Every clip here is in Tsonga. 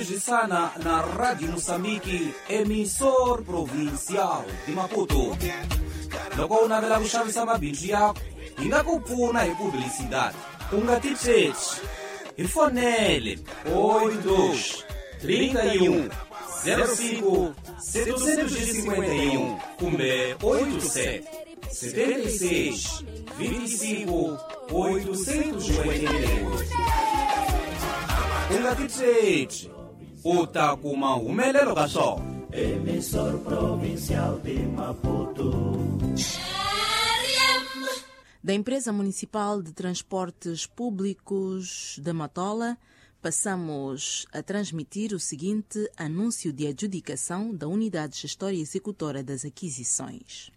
Tirhisana na Radio Moçambique, emissor provincial de Maputo. Loko u navela ku xavisa mabindzu yakho, hi nga ku pfuna hi publicidade. U nga titsheti. Hi fonele 82 31 05 751 kumbe 87 76 25 888. U nga titsheti, u ta kuma humelelo ka swona. Emissor Provincial de Maputo. Da Empresa Municipal de Transportes Públicos de Matola, passamos a transmitir o seguinte anúncio de adjudicação da Unidade Gestora e Executora das Aquisições.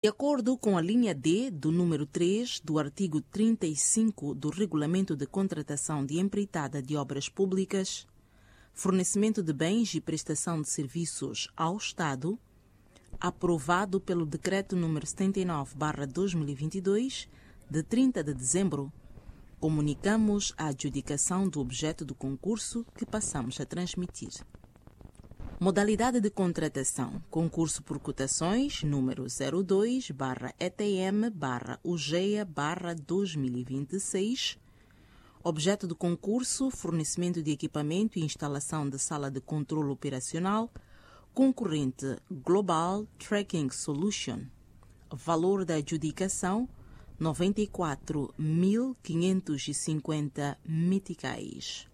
De acordo com a linha D do número 3 do artigo 35 do Regulamento de Contratação de Empreitada de Obras Públicas, fornecimento de bens e prestação de serviços ao Estado, aprovado pelo Decreto número 79/2022, de 30 de dezembro, comunicamos a adjudicação do objeto do concurso que passamos a transmitir. Modalidade de contratação: concurso por cotações número 02/ETM/UGEA/2026. Objeto do concurso: fornecimento de equipamento e instalação de sala de controle operacional. Concorrente: Global Tracking Solution. Valor da adjudicação: 94.550 meticais.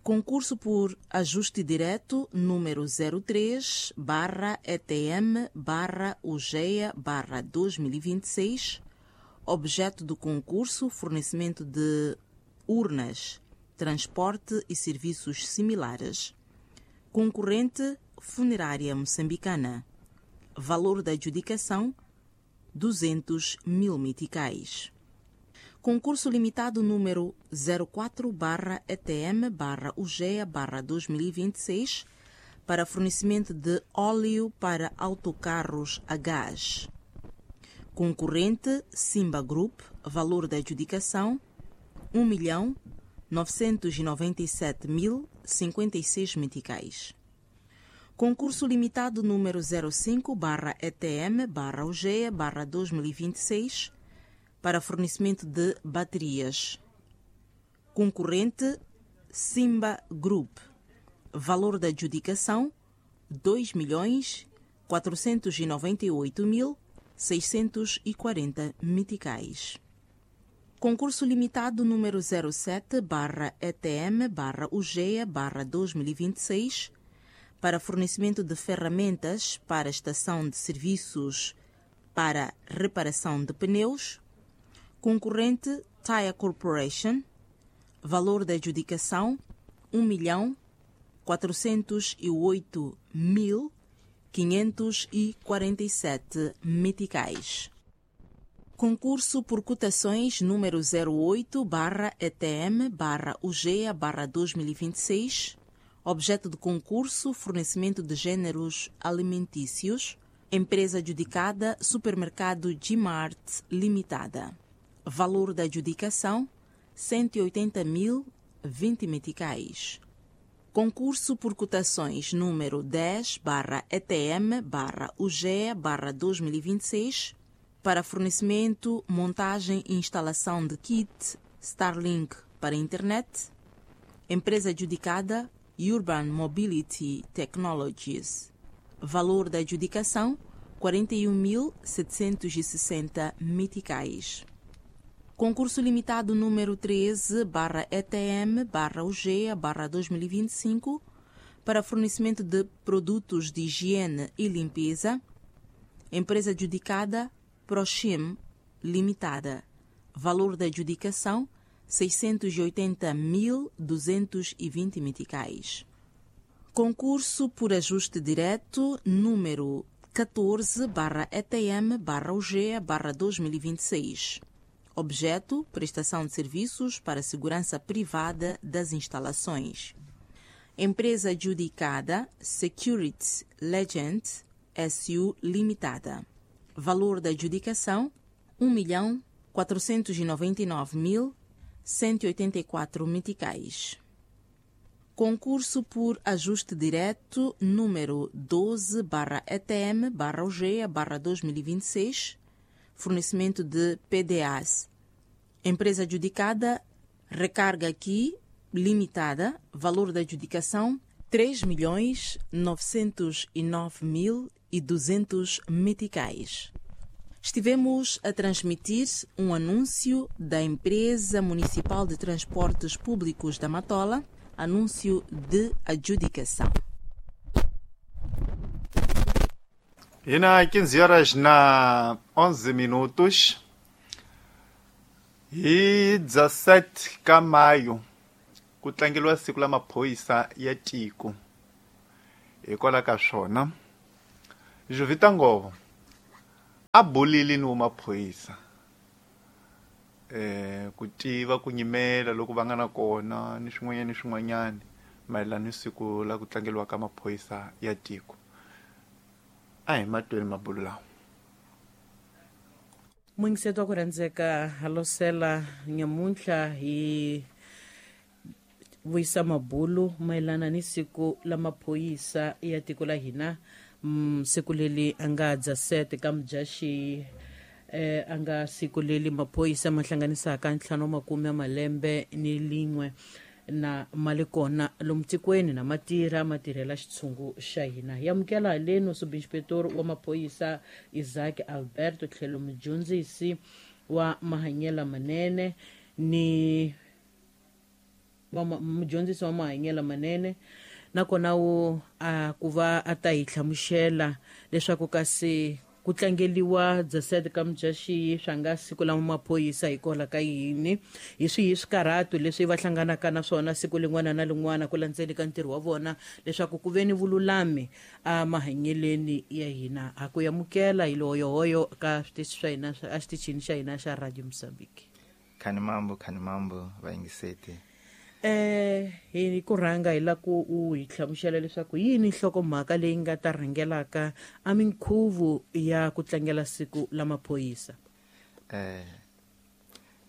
Concurso por ajuste direto número 03/ETM/UGEA/2026. Objeto do concurso: fornecimento de urnas, transporte e serviços similares. Concorrente: Funerária Moçambicana. Valor da adjudicação: 200 mil meticais. Concurso limitado número 04/ETM/UGEA/2026 para fornecimento de óleo para autocarros a gás. Concorrente: Simba Group. Valor da adjudicação: 1.997.056 meticais. Concurso limitado número 05/ETM/UGEA/2026 para fornecimento de baterias. Concorrente: Simba Group. Valor da adjudicação: 2.498.640 meticais. Concurso limitado número 07/ETM/UGEA/2026 para fornecimento de ferramentas para estação de serviços para reparação de pneus. Concorrente: Tire Corporation. Valor da adjudicação: 1.408.547 meticais. Concurso por cotações número 08/ETM/UGEA/2026. Objeto de concurso: fornecimento de gêneros alimentícios. Empresa adjudicada: Supermercado Gmart Limitada. Valor da adjudicação: 180.020 meticais. Concurso por cotações número 10/ETM/UGEA/2026 para fornecimento, montagem e instalação de kit Starlink para internet. Empresa adjudicada: Urban Mobility Technologies. Valor da adjudicação: 41.760 meticais. Concurso limitado número 13/ETM/UGEA/2025 para fornecimento de produtos de higiene e limpeza. Empresa adjudicada: Prochim Limitada. Valor da adjudicação: 680.220 meticais. Concurso por ajuste direto número 14/ETM/UGEA/2026. Objeto: prestação de serviços para segurança privada das instalações. Empresa adjudicada: Security Legend SU Limitada. Valor da adjudicação: 1.499.184 meticais. Concurso por ajuste direto número 12/ETM/UGEA/2026, fornecimento de PDAs. Empresa adjudicada, Recarga Aqui Limitada, valor da adjudicação 3.909.200 meticais. Estivemos a transmitir um anúncio da Empresa Municipal de Transportes Públicos da Matola, anúncio de adjudicação. E na 15 horas na 11 minutos hi 17 ka mayo ku tlangeliwa siku la maphorisa ya tiko. Hikwalaho ka swona Jovita Ngovo a bulile ni maphorisa ku tiva ku nyimela loko va nga na kona ni swin'wanyana ni swin'wanyana mayelana ni siku la ku tlangeliwa ka maphorisa ya tiko. A hi matweni mabulu lawa. Muyingiseti wa ku rhandzeka halosela nyamuntlha hi vuyisa mabulu mayelana ni siku la maphorisa ya tiko la hina, siku leli a nga 17 ka Mudyaxihi, a nga siku leli maphorisa ma hlanganisaka 51 na mali kona lomu tikweni na matirha matirhela xitshungu xa hina. Hi amukela haleno subinspektor wa maphorisa Isaac Alberto tlhelo mudyondzisi wa mahanyelo manene ni wa mudyondzisi wa mahanyelo manene, nakona wu a ku va a ta hi hlamusela leswaku kasi ku tlangeliwa 17 ka Mudyaxihi swa nga siku la maphorisa hikwalaho ka yini, hi swihi swikarhato leswi va hlanganaka na swona siku lin'wana na lin'wana ku landzeni ka ntirho wa vona leswaku ku ve ni vululami a mahanyeleni ya hina. Ha ku amukela hi lohoyohoyo ka switichi swa hina a xitichini xa hina xa Radio Mozambique. Khanimambo, khanimambo vayingiseti. Hi ku rhanga hi la ku u hi hlamusela leswaku yini nhlokomhaka leyi nga ta rhangelaka a minkhuvo ya ku tlangela siku la maphorisa.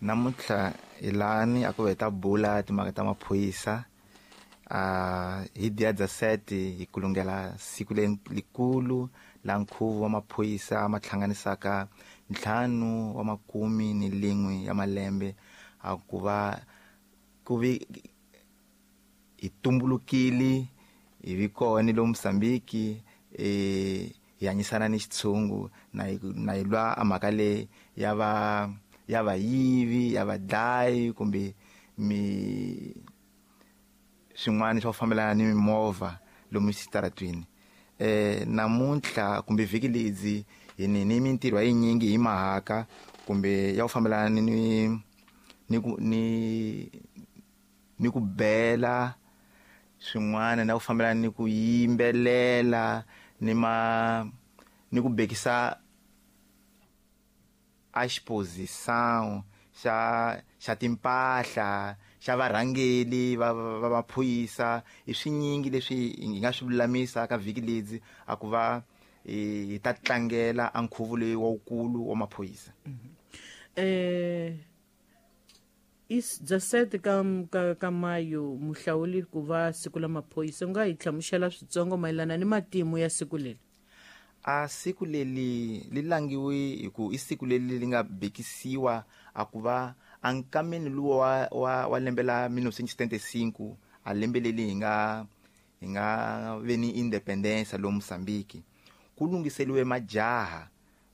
Namuntlha hi lani a ku va hi ta bula timhaka ta maphorisa. Hi dia 17 hi kulungela siku lelikulu la nkhuvo wa maphorisa ma hlanganisaka 51 ya malembe a ku va ku vi hi tumbulukile hi vi kona lomu Mozambique, hi hanyisana ni xitshungu na hi lwa a mhaka leyi ya va ya vayivi ya vadlayi kumbe mi swin'wana swa ku fambelana ni mimovha lomu xitaratwini. Namuntlha kumbe vhiki ledzi hi ni mintirho ya yinyingi hi mahaka kumbe ya ku fambelana ni ni ni ku bela swin'wana na ku fambelana ni ku yimbelela ni ma ni ku bekisa a exposição xa timpahla xa varhangeli va maphorisa. I swinyingi leswi hi nga swi lulamisa ka vhiki ledzi a ku va hi ta tlangela a nkhuvo leyi wawukulu wa maphorisa. Is 17 ka Mayo muhlawuli ku va siku la maphorisa, u nga hi hlamusela switsongo mayelana ni matimu ya siku leri? A siku leri li langiwe hi ku i siku leri li nga bekisiwa a ku va a nkameni luwa wa lembe la 1975, a lembe leri hi nga ve ni independence lomu Mozambique, ku lunghiseliwe majaha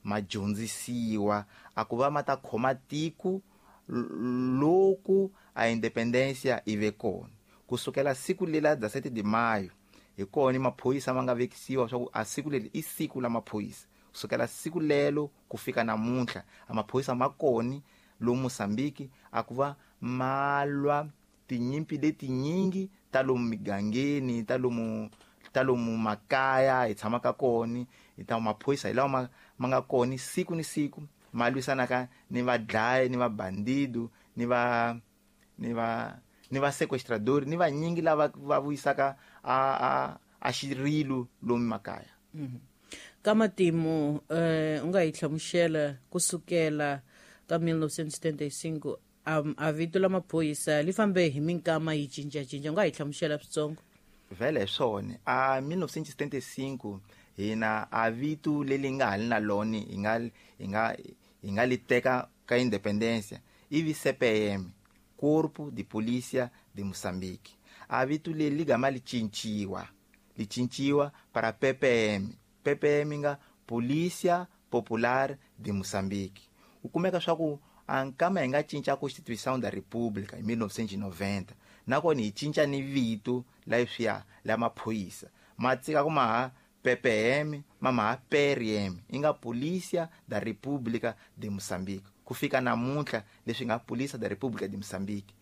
ma dyondzisiwa a ku va ma ta khoma tiko loku a independencia i ve kona. Kusukela siku lela 17 de maio hi kona maphorisa ma nga vekisiwa swa ku a siku leri i siku la maphorisa. Kusukela siku lelo ku fika namuntlha a maphorisa ma kona lomu Mozambique a ku va ma lwa tinyimpi letinyingi ta lomu migangeni, ta lomu makaya hi tshamaka kona. Hi ta maphorisa hi lawa ma nga kona siku ni siku ma lwisanaka ni vadlayi ni vabandido ni va ni va sequestrador ni vanyingi lava va vuyisaka a xirilo lomu makaya. Ka matimu u nga hi hlamusela kusukela ka 1975 A vito la maphorisa li fambe hi minkama yi cincacinca, u nga hi hlamusela switsongo? Vele hi swona, a 1975 hina a vito leri nga ha li na lona hi nga li teka ka independência ivi CPM, Corpo de Polícia de Moçambique. A vito leri li gama li cinciwa para PPM. PPM nga Polícia Popular de Moçambique. U kumeka swa ku a nkama hi nga cinca Constituição da República hi 1990, nakona hi cinca ni vito leswiya la maphorisa, ma tsika ku maha PPM, ma maha PRM, i nga Polícia da República de Moçambique, ku fika namuntlha leswi nga Polícia da República de Moçambique.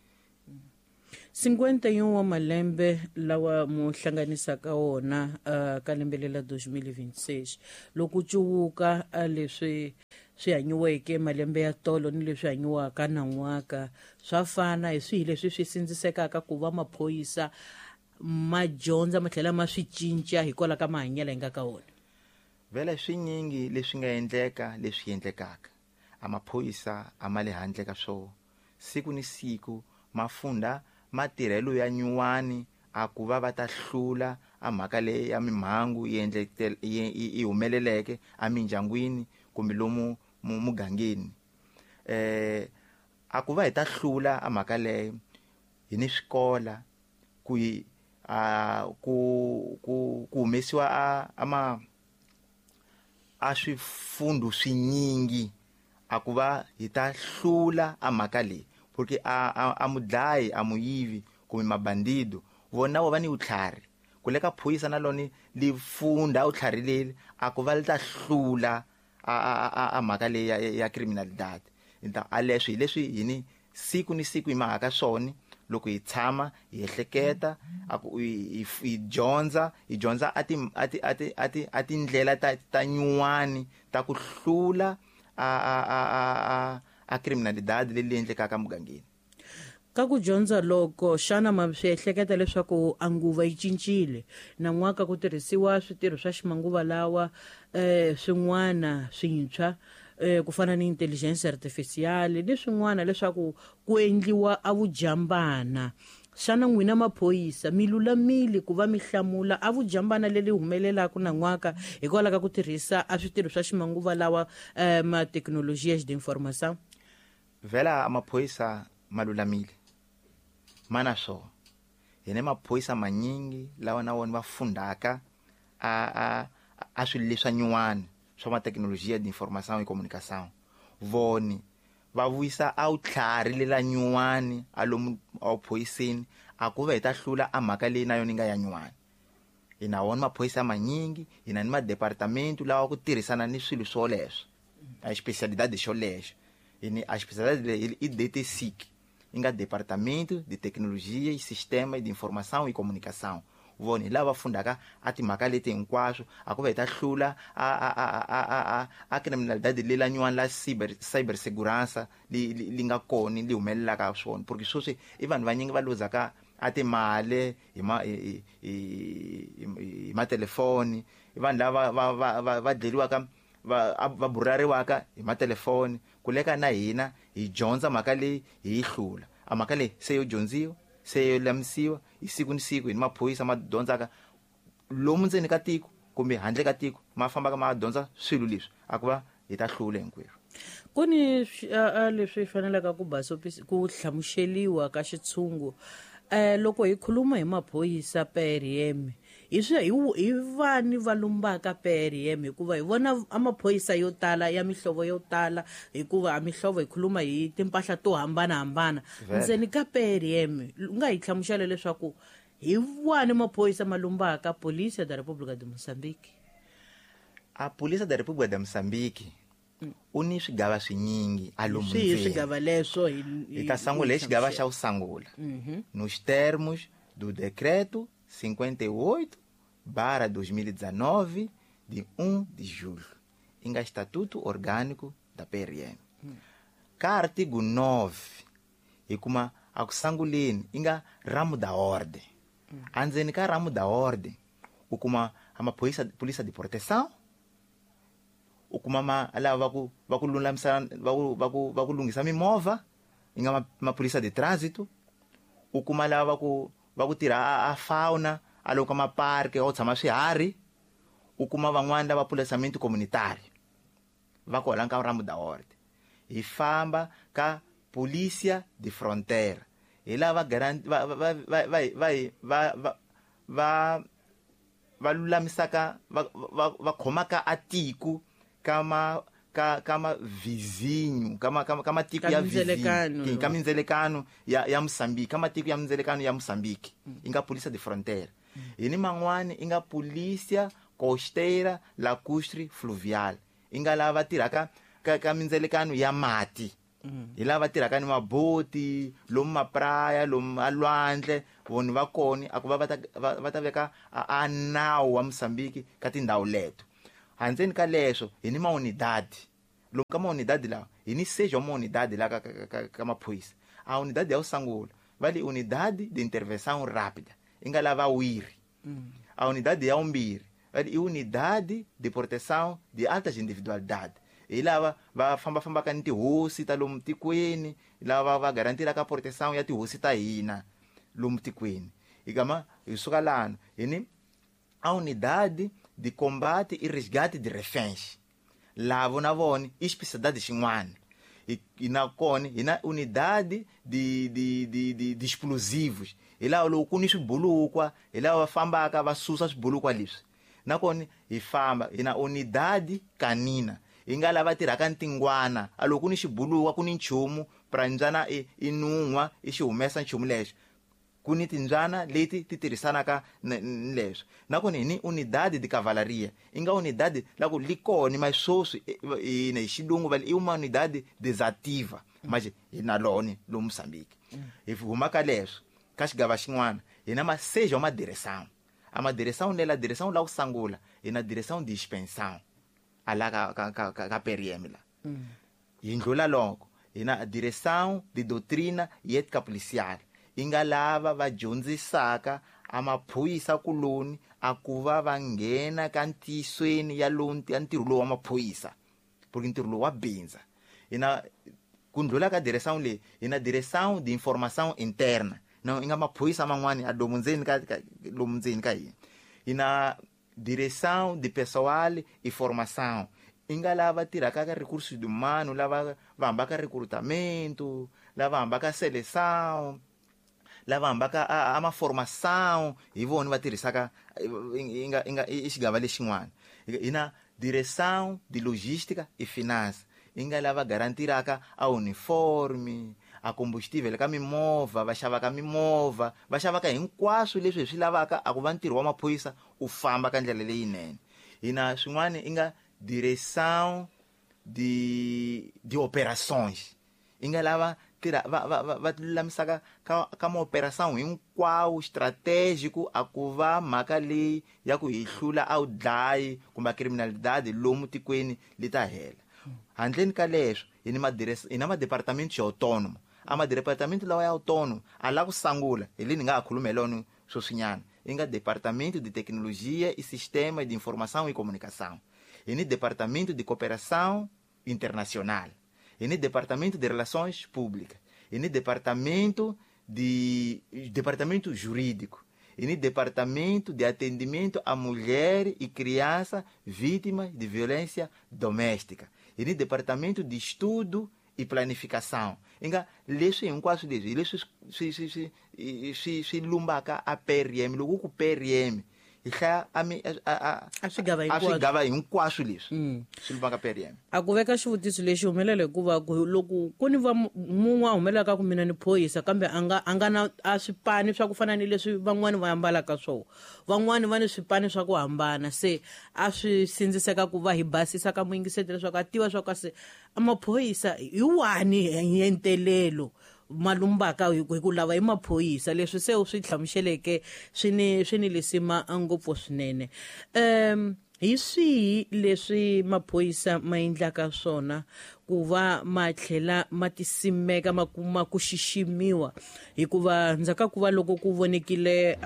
51 wa malembe lawa mu hlanganisaka wona ka lembe lela 2026, loko cuwuka leswi swi hanyiweke malembe ya tolo ni leswi hanyiwaka nan'waka swa fana, hi swihi leswi swi sindzisekaka ku va maphorisa ma dyondza ma tlhela ma swi cinca hikwalaho ka mahanyelo hi nga ka wona? Vele swinyingi leswi nga endleka, leswi endlekaka, a maphorisa a ma le handle ka swona. Siku ni siku ma funda matirhelo ya nyuwani a ku va va ta hlula a mhaka leyi ya mimhangu yi humeleleke emindyangwini kumbe lomu mugangeni. A ku va hi ta hlula a mhaka leyo, hi ni swikola ku hi a ku humesiwa a ama a swifundu swinyingi a ku va hi ta hlula a mhaka leyi, porque a mudlayi, a muyivi kumbe mabandido, vona vo va ni vutlhari. Ku le ka phorisa na loni li funda vutlhari leri a ku va li ta hlula a mhaka leyi ya criminalidad. A leswi hi leswi hi ni siku ni siku hi mahaka swona. Loko hi tshama hi ehleketa, a ku hi dyondza a tindlela ta nyuwani ta ku hlula a criminalidad leyi endlekaka mugangeni. Ka ku dyondza loko, xana ma swi ehleketa leswaku a nguva yi cincile nan'waka, ku tirhisiwa switirho swa ximanguva lawa, swin'wana swintshwa, ku fana ni intelligence artificial ni swin'wana, leswaku ku endliwa a vujambana? Xana n'wina maphorisa mi lulamile ku va mi hlamula a vujambana leri humelelaka nan'waka hikwalaho ka ku tirhisa a switirho swa ximanguva lawa, ma tecnologias de informação? Vhela maphorisa ma lulamile, ma na swona. Hi ni maphorisa manyingi lawa na wona va fundaka a swilo leswa nyuwani swa ma tecnologia de informação e comunicação. Voni va vuyisa a wutlhari lela nyuwani a lomu awuphoyiseni a ku va hi ta hlula a mhaka leyi na yona yi nga ya nyuwani. Hi na wona maphorisa manyingi, hi na ni madepartamento lawa ku tirhisana ni swilo swoleswo, a especialidade xolexo. Hi ni a especialidade leyi i DTSIC, yi nga Departamento de Tecnologia e Sistema de Informação e Comunicação. Vona hi lava va fundaka a timhaka leti hinkwaswo a ku va hi ta hlula a criminalidade lela nyuwani la cyber segurança li nga kona, li humelelaka swona, porque sweswi i vanhu vanyingi va luzaka a timali hi matelefoni, i vanhu lava va dleriwaka, va burariwaka hi matelefoni. Ku leka na hina hi dyondza mhaka leyi, hi yi hlula a mhaka leyi. Se yo dyondziwa, se yo lamisiwa hi siku ni siku, hi ni maphorisa ma dyondzaka lomu ndzeni ka tiko kumbe handle ka tiko, ma fambaka ma dyondza swilo leswi a ku va hi ta hlula hinkwerhu. Ku ni leswi fanelaka ku basopisa ku hlamuseliwa ka xitshungu. Loko hi khuluma hi maphorisa PRM, hi swi hi vani va lumbaka PRM? Hikuva hi vona a maphorisa yo tala ya mihlovo yo tala, hikuva a mihlovo hi khuluma hi timpahla to hambanahambana. Vhele. Ndzeni ka PRM, u nga hi hlamusela leswaku hi wani maphorisa ma lumbaka Polícia da República de Moçambique? A Polícia da República de Moçambique u ni swigava swinyingi a lomu Swihi ndzeni. swigava leswo? Hi ta sangula hi xigava xa kusangula, nos termos do decreto 58/2019 de 1 de julho, i nga Estatuto Orgânico da PRM. Ka artigo 9 hi kuma a ku sanguleni i nga ramo da ordem. Andzeni ka ramo da ordem u kuma a maphorisa, polícia de proteção, u kuma ma lava va ku lulamisa, va ku lunghisa mimovha. i nga maphorisa de trânsito, u kuma lava va ku tirha a fauna a loko ka maparke a ku tshama swiharhi, u kuma van'wani lava policiamento comunitário va kona ka Ramo da Horte. Hi famba ka Polícia de Fronteira, hi lava va lulamisaka va khomaka a tiko ka ma vizinho ka matiko ya vizinho ka mindzelekano ya Moçambique, ka matiko ya mindzelekano ya Moçambique, i nga Polícia de Fronteira. Hi ni man'wani i nga Polícia Costeira Lacustre Fluvial, i nga lava tirhaka ka mindzelekano ya mati. Hi lava tirhaka ni maboti lomu mapraya lomu alwandle, vona va kona a ku va va ta veka a nawu wa Moçambique ka tindhawu leto. Handzeni ka leswo hi ni maunidade, lomu ka maunidade lawa hi ni seja maunidade la ka maphorisa. A unidade ya usangula va li unidade de intervenção rápida, i nga lava wiri. A unidade ya umbirhi va li i unidade de proteção de altas individualidades, hi lava va fambafambaka ni tihosi ta lomu tikweni, lava va garantiraka proteção ya tihosi ta hina lomu tikweni. Hi hi suka lana hi ni a unidade de combate e resgate de reféns, lavo na vona i especialidade xin'wana. I na kona hi na unidade de explosivos, hi lava loko ku ni swibulukwa hi lava va fambaka va susa swibulukwa leswi. Nakona hi famba hi na unidade canina, hi nga lava tirhaka ni tingwana, a loko ku ni xibulukwa ku ni nchumu pranjana i nun'wa i xi humesa nchumu lexo, ku ni timbyana leti ti tirhisanaka ni leswo. Nakona hi ni unidade de cavalaria, i nga unidade la ku li kona mas sweswi hina hi xilungu va i uma unidade desativa, mas hi na lona lomu Moçambique. Hi huma ka leswo ka xigava xin'wana hi na maseja ma direção, a ma direção lela direção la ku sangula hi na direção de expansão ala ka PRM la. Hi ndlula loko hi na direção de doutrina e ética policial, i nga lava va dyondzisaka a maphorisa kuloni a ku va va nghena ka ntiyisweni ya ya ntirho lowu wa maphorisa, porque ntirho lowu wa bindza. Hi na ku ndlula ka direção leyi hi na direção de informação interna, na i nga maphorisa man'wani a lomu ndzeni ka lomu ndzeni ka hina. Hi na direção de pessoal e formação, i nga lava tirhaka ka recursos humanos, lava va hambaka recrutamento, lava hambaka seleção, lava hambaka a maformação, hi vona va tirhisaka i nga i xigava lexin'wana. Hi na direção de logística e finança, i nga lava garantiraka a uniforme, a combustível ka mimovha, va xavaka mimovha, va xavaka hinkwaswo leswi hi swi lavaka a ku va ntirho wa maphorisa u famba ka ndlela leyinene. Hi na swin'wana i nga direção de operações, i nga lava tirha va lulamisaka ka maoperação hinkwawo stratégico a ku va mhaka leyi ya ku hi hlula a wu dlayi kumbe criminalidade lomu tikweni li ta hela. Handleni ka leswo hi ni hi na madepartamento ya autônomo, a madepartamento lawa ya autônomo a la ku sangula hi le ni nga ha khuluma hi lona sweswinyana, i nga departamento de tecnologia e sistema de informação e comunicação, hi ni departamento de cooperação internacional, hi ni departamento de relações públicas, hi ni departamento de departamento jurídico, hi ni departamento de atendimento à mulher e criança vítima de violência doméstica, hi ni departamento de estudo e planificação. Inga leswi hinkwaswo leswi hi leswi swi lumbaka a PRM. Loko ku PRM hi hlaya a swigava hinkwaswo leswi swi lumbaka PRM. A ku veka xivutiso lexi humelela hikuva loko ku ni va mun'we a humelelaka ku mina ni phorisa kambe a nga na a swipani swa ku fana ni leswi van'wani va ambalaka swona, van'wani va ni swipani swa ku hambana, se a swi sindziseka ku va hi basisa ka muyingiseti leswaku a tiva swa ku se maphorisa hi wani hi entelelo malumbaka hi ku lava hi maphorisa. Leswi se u swi hlamuseleke swi ni lisima ngopfu swinene. Hi swihi leswi maphorisa ma endlaka swona ku va ma tlhela ma tisimeka ma kuma ku xiximiwa? Hikuva ndzhaku ka ku va loko ku vonekile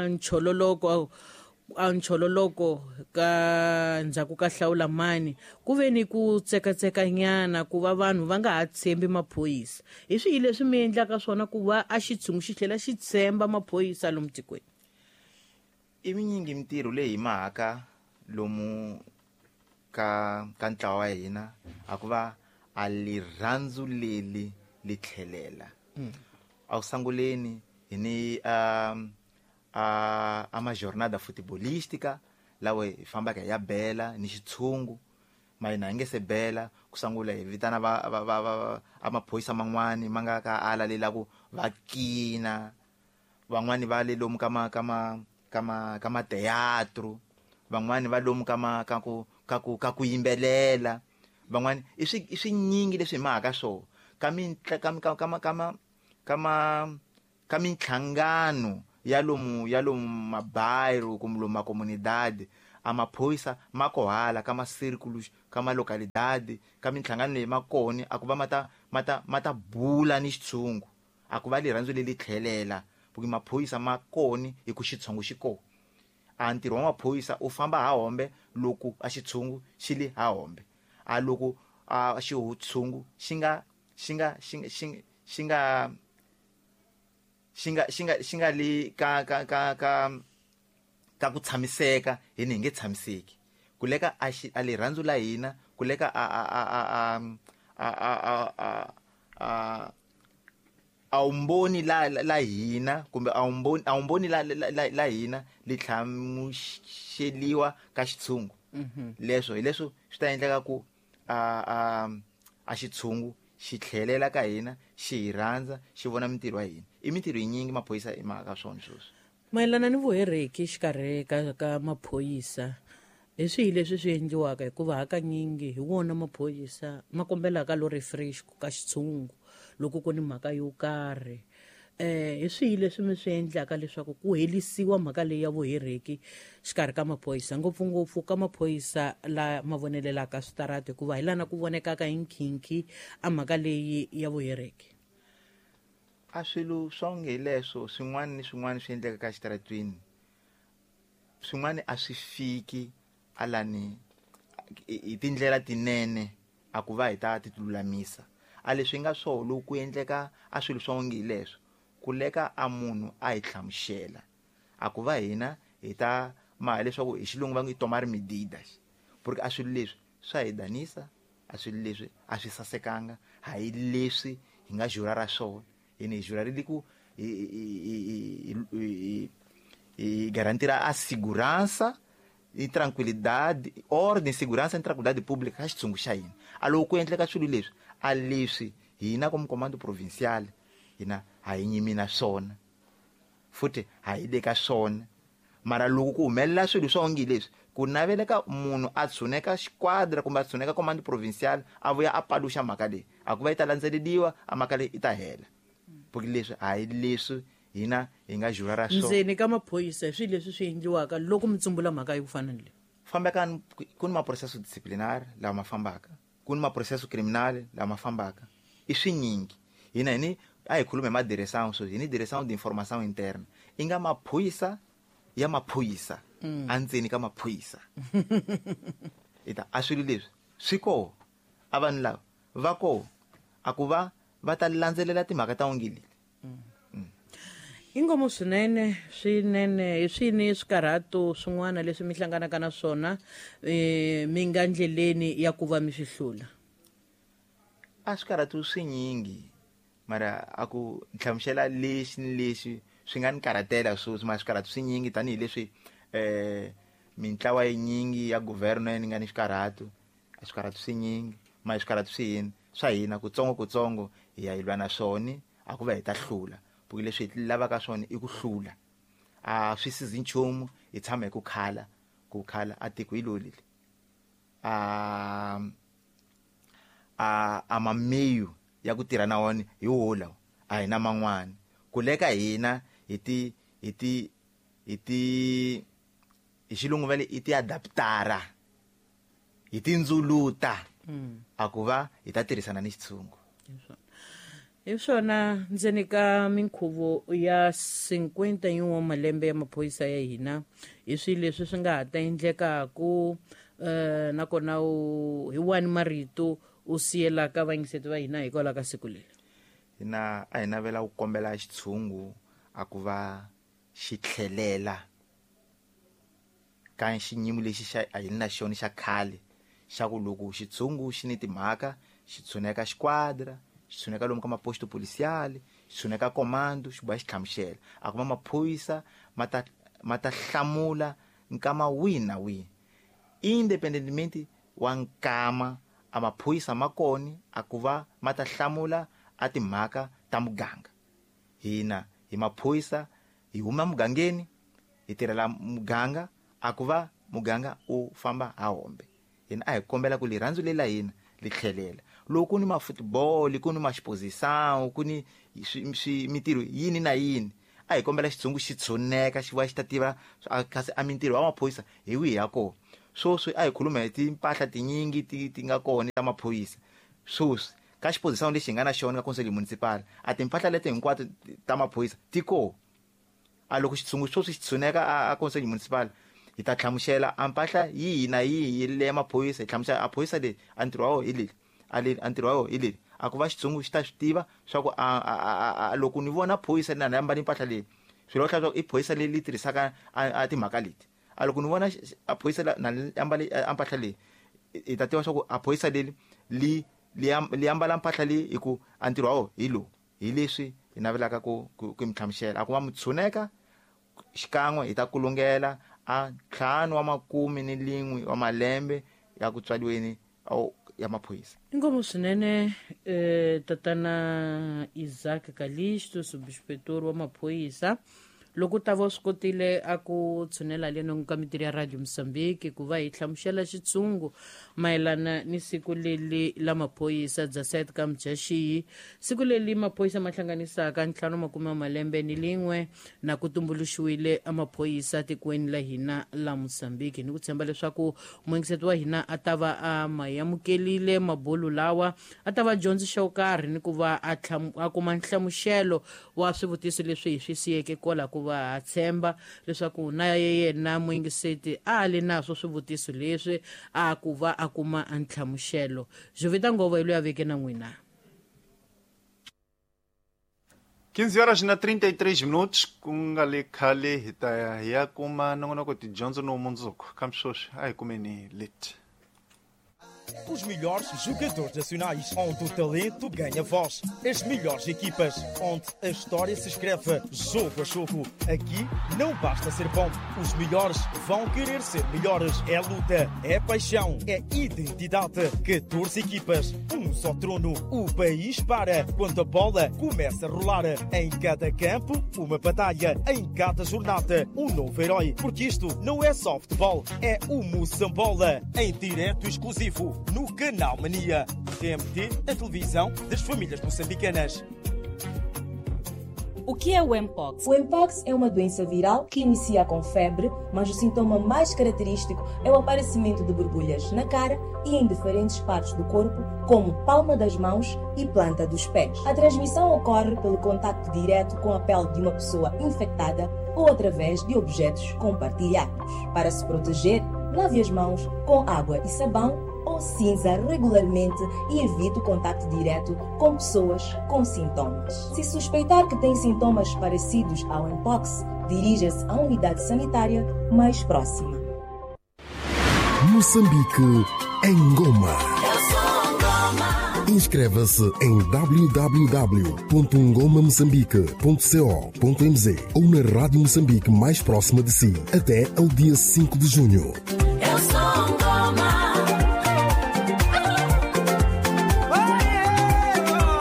nchololoko a nchololoko ka ndzhaku ka hlawula mani ku ve ni ku tsekatsekanyana ku va vanhu va nga ha tshembi maphorisa. Hi swihi leswi mi endlaka swona ku va a xitshungu xi tlhela xi tshemba maphorisa lomu tikweni? I minyingi mintirho leyi hi mahaka lomu ka ntlawa wa hina a ku va a lirhandzu leli li tlhelela. A ku sanguleni hi ni a majornada futebolística lawa hi fambaka hi ya bela ni xitshungu ma hina hi nge se bela ku sangula hi vitana va a maphorisa man'wani ma nga ka ala le la ku va kina, van'wani va le lomu ka ma ka ma ka ma ka ma teatro, van'wani va lomu ka ma ka ku ka ku ka ku yimbelela, van'wani i swinyingi leswi hi mahaka swona ka ka ka ka ka ma ka minhlangano ya lomu mabairro kumbe lomu macomunidade a maphorisa ma kohala ka ma círculos ka ma localidade ka minhlangano leyi makoni a ku va mata bula ni xitshungu a ku va lirhandzu leli tlhelela porque maphorisa ma koni hi ku xitshungu xi kona. A ntirho wa maphorisa u famba ha hombe loko a xitshungu xi li ha hombe, a loko a xitshungu xi nga xi nga xi xi xi nga xi nga xi nga xi nga li ka ka ka ka ka ku tshamiseka hi ni hi nge tshamiseki ku leka a lirhandzu la hina ku leka a a a a a a a a a umboni la hina kumbe a umboni la hina li tlhamuxeliwa ka xitshungu. Leswo hi leswo swi ta endleka ku a xitshungu xi tlhelela ka hina xi hi rhandza xi vona mintirho ya hina. I mintirho yinyingi maphorisa i mhaka swona sweswo. Mayelana ni vuhereki xikarhi ka maphorisa, hi swihi leswi swi endliwaka hikuva hakanyingi hi wona maphorisa ma kombelaka lo refresh ka xitshungu loko ku ni mhaka yo karhi. Hi swihi leswi mi swi endlaka leswaku ku helisiwa mhaka leyi ya vuhereki xikarhi ka maphorisa, ngopfungopfu ka maphorisa la ma vonelelaka switarati hikuva hi lana ku vonekaka hi nkhinkhi a mhaka leyi ya vuhereki? A swilo swa onge hi leswo swin'wana ni swin'wana swi endleka ka xitaratwini, swin'wana a swi fiki alani hi tindlela tinene a ku va hi ta ti lulamisa. A leswi nga swona loko ku endleka a swilo swa onge hi leswo ku leka a munhu a hi hlamusela a ku va hina hi ta ma leswaku hi xilungu va nge tomar medidas, porque a swilo leswi swa hi danisa, a swilo leswi a swi sasekanga, ha hi leswi hi nga jura ra swona. Hina hi jurarile ku hi garantira a segurança e tranquilidade, ordem, segurança e tranquilidade pública ka xitshungu xa hina. A loko ku endleka swilo leswi a leswi hina como comando provincial hina ha hi nyimi na swona futhi ha hi le ka swona. Mara loko ku humelela swilo swa onge leswi ku naveleka munhu a tshuneka xiquadra kumbe a tshuneka comando provincial a vuya a paluxa mhaka leyi a ku va yi ta landzeleriwa a mhaka leyi i ta hela, porque leswi ha hi leswi hina hi nga jura ra swona. Ndzeni ka maphorisa hi swilo leswi swi endliwaka loko mi tsumbula mhaka yo fana ni leyi? Fambeka ku ni maprocesso disciplinar lawa ma fambaka, ku ni maprocesso criminal lawa ma fambaka, i swinyingi. Hina hi ni a hi khulume hi ma direção sweswi, hi ni direção de informação interna i nga maphorisa ya maphorisa andzeni ka maphorisa. Ita a swilo leswi swi koho a vanhu lava va koho a ku va va ta landzelela timhaka ta onge leti. Ingomo swinene swinene hi swini swikarhato swin'wana leswi mi hlanganaka na swona mi nga ndleleni ya ku va mi swi hlula? A swikarhato swinyingi mara a ku nhlamusela lexi ni lexi swi nga ni karhatela sweswi, mara swikarhato swinyingi tanihileswi mintlawa yinyingi ya governo ni nga ni swikarhato, a swikarhato swinyingi mara swikarhato swi hina swa hina kutsongo kutsongo hi ya hi lwa na swona a ku va hi ta hlula, porque leswi hi lavaka swona i ku hlula. A swi sizi nchumu hi tshama hi ku khala ku khala a tiko hi loli a mameyu ya ku tirha na wona hi wo lawa a hi na man'wana ku leka hina hi ti hi ti hi ti hi xilungu va le i ti adaptara hi tindzuluta a ku va hi ta tirhisana ni xitshungu. Hi swona ndzeni ka minkhuvo ya 51 wa malembe ya maphorisa ya hina, hi swilo leswi swi nga ha ta endlekaku, nakona hi wani marito u siyelaka vayingiseti va hina hikwalaho ka siku leri? Hina a hi navela ku kombela xitshungu a ku va xi tlhelela ka xiyimo lexi xa a hi na xona xa khale, xa ku loko xitshungu xi ni timhaka xi tshuneka xiquadra, xi tshuneka lomu ka maposto policial, xi tshuneka comando, xi boha xi hlamusela. A kuma maphorisa ma ta hlamula nkama wihi na wihi, independently wa nkama a maphorisa ma kona a ku va ma ta hlamula a timhaka ta muganga. Hina hi maphorisa hi huma mugangeni, hi tirhela muganga, a ku va muganga u famba ha hombe. Hina a hi kombela ku rirhandzu leri la hina li tlhelela. Loko ku ni ma-football, ku ni ma-exposição, ku ni mintirho yini na yini, a hi kombela xitshungu xi tshuneka xi va xi ta tiva kasi a mintirho wa maphorisa hi wihi ya kona. Sweswi a hi khuluma hi timpahla tinyingi ti nga kona ta maphorisa. Sweswi ka xiposição lexi hi nga na xona ka Conselho Municipal, a timpahla leti hinkwato ta maphorisa ti kona. A loko xitshungu sweswi xi tshuneka a Conselho Municipal, hi ta hlamusela a mpahla yihi na yihi leya maphorisa, hi hlamusela a phorisa leyi a ntirho wa wona hi leri, a leri a ntirho wa wona hi leri. A ku va xitshungu xi ta swi tiva swa ku a loko ni vona phorisa na ni ambale mpahla leyi, swilo swa ku i phorisa leyi li tirhisaka a timhaka leti. A loko ni vona a phorisa na ni ambale a mpahla leyi, hi ta tiva swa ku a phorisa leri li ambala mpahla leyi hi ku a ntirho wa wona hi lowu. Hi leswi hi navelaka ku mi hlamusela. A ku va mi tshuneka xikan'we hi ta kulungela a 5 wa makume ni lin'we wa malembe ya ku tswariweni ya maphorisa. Inkomu swinene, tatana Isaac Kalisto, subinspektor wa maphorisa. Loko ta va swi kotile a ku tshunela leno ka mintirho ya Radio Mozambique ku va hi hlamusela xitshungu mayelana ni siku leri la maphorisa bya 7 ka Mudyaxihi, siku leri maphorisa ma hlanganisaka 51 malembe ni lin'we na ku tumbuluxiwile maphorisa tikweni la hina la Mozambique. Ni ku tshemba leswaku muyingiseti wa hina a ta va a ma amukelile mabulu lawa, a ta va dyondzi xo karhi ni ku va a kuma nhlamuselo wa swivutiso leswi hi swi siyeke kwala, ku va tshemba leswaku na yena muyingiseti a li naswo swivutiso leswi a ku va a kuma nhlamuselo. Jovita Ngova hi loyi a veke na n'wina. 15 horas na 33 minutos, ku nga le khale hi ta ya kuma nongonoko tidyondzo no mundzuku. Kambe sweswi a hi kumeni leti. Os melhores jogadores nacionais, onde o talento ganha voz. As melhores equipas, onde a história se escreve jogo a jogo. Aqui não basta ser bom, os melhores vão querer ser melhores. É luta, é paixão, é identidade. 14 equipas, um só trono. O país para quando a bola começa a rolar. Em cada campo, uma batalha. Em cada jornada, um novo herói. Porque isto não é só futebol, é o Moçambola. Em direto exclusivo no Canal Mania. TMT, a televisão das famílias moçambicanas. O que é o Mpox? O Mpox é uma doença viral que inicia com febre, mas o sintoma mais característico é o aparecimento de borbulhas na cara e em diferentes partes do corpo, como palma das mãos e planta dos pés. A transmissão ocorre pelo contacto direto com a pele de uma pessoa infectada ou através de objetos compartilhados. Para se proteger, lave as mãos com água e sabão ou cinza regularmente e evite o contacto direto com pessoas com sintomas. Se suspeitar que tem sintomas parecidos ao Mpox, dirija-se à unidade sanitária mais próxima. Moçambique em Goma. Inscreva-se em www.ngomamoçambique.co.mz ou na Rádio Moçambique mais próxima de si até ao dia 5 de junho. Eu sou Ngoma.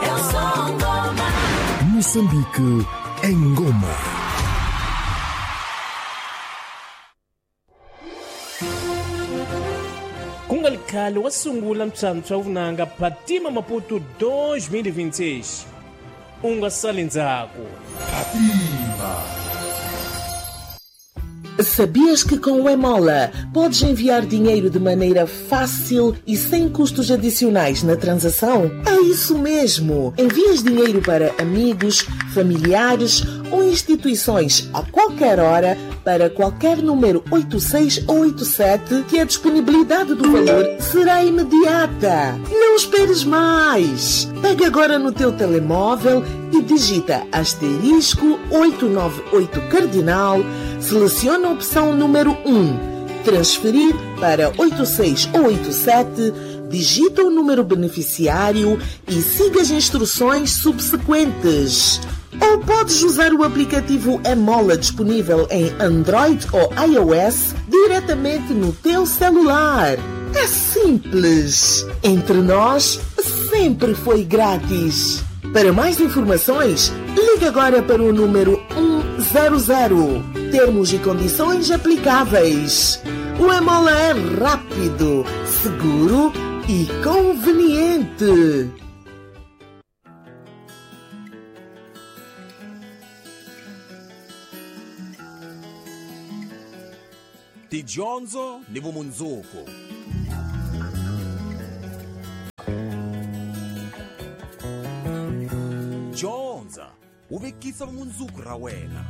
Eu sou Ngoma. Moçambique em Goma. Kunga khale wa sungula ntswantswa vunanga Phatima Maputo 2026. U nga sali ndzhaku. Phatima. Sabias que com o Emola podes enviar dinheiro de maneira fácil e sem custos adicionais na transação? É isso mesmo! Envias dinheiro para amigos, familiares ou instituições a qualquer hora para qualquer número 86 ou 87 que a disponibilidade do valor será imediata. Não esperes mais! Pega agora no teu telemóvel e digita asterisco 898 cardinal, seleciona a opção número 1, transferir para 86 ou 87, digita o número beneficiário e siga as instruções subsequentes. Ou podes usar o aplicativo Emola disponível em Android ou iOS diretamente no teu celular. É simples! Entre nós, sempre foi grátis. Para mais informações, ligue agora para o número 100. Termos e condições aplicáveis. O Emola é rápido, seguro e conveniente. Tidyondzo ni vumundzuku. Dyondza u vekisa vumundzuku ra wena.